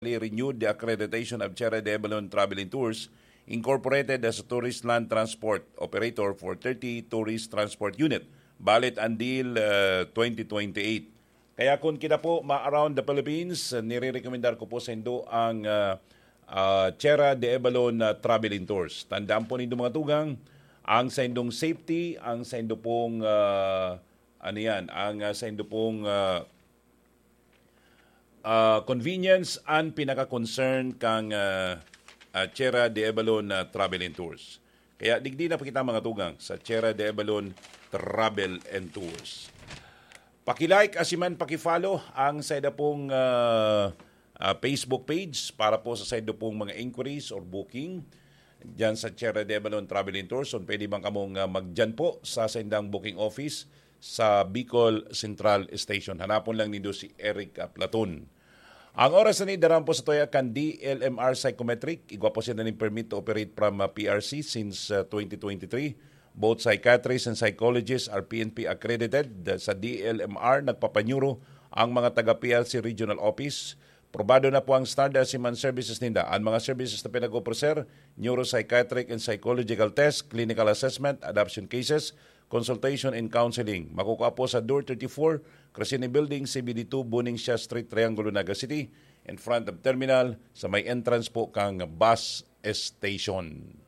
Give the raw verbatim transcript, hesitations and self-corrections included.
officially renewed the accreditation of Sierra de Avalon Travel and Tours Incorporated as a tourist land transport operator for thirty tourist transport unit, valid until uh, twenty twenty-eight. Kaya kung kita po ma-around the Philippines, uh, nire-recommendar ko po sa indo ang uh, uh, Sierra de Avalon uh, Travel and Tours. Tandaan po nindo mga tugang, ang sa indong safety, ang sa indo pong uh, ano yan, ang uh, sa indo pong uh, uh, convenience ang pinaka-concern kang uh, uh, Sierra de Avalon uh, Travel and Tours. Kaya digdi na pa kita mga tugang sa Sierra de Avalon Travel and Tours. Paki-like, asiman paki-follow ang sa ida pong uh, uh, Facebook page para po sa sa ida pong mga inquiries or booking diyan sa Sierra de Avalon Travel and Tours. So, pwede bang kamong uh, magdiyan po sa sendang booking office sa Bicol Central Station? Hanapon lang nindo si Eric uh, Platon. Ang oras na ni daran po sa tuya kan D L M R Psychometric. Igwa po siya na ning permit to operate from uh, P R C since uh, twenty twenty-three. Both psychiatrists and psychologists are P N P accredited. Sa D L M R, nagpapanyuro ang mga taga P R C Regional Office. Probado na po ang standard siman services ninda. Ang mga services na pinag-opreser, neuropsychiatric and psychological test, clinical assessment, adoption cases, consultation and counseling. Makukuha po sa Door thirty-four, Crescene Building, C B D two, Buning Siya Street, Triangulo, Naga City, in front of terminal, sa may entrance po kang bus station.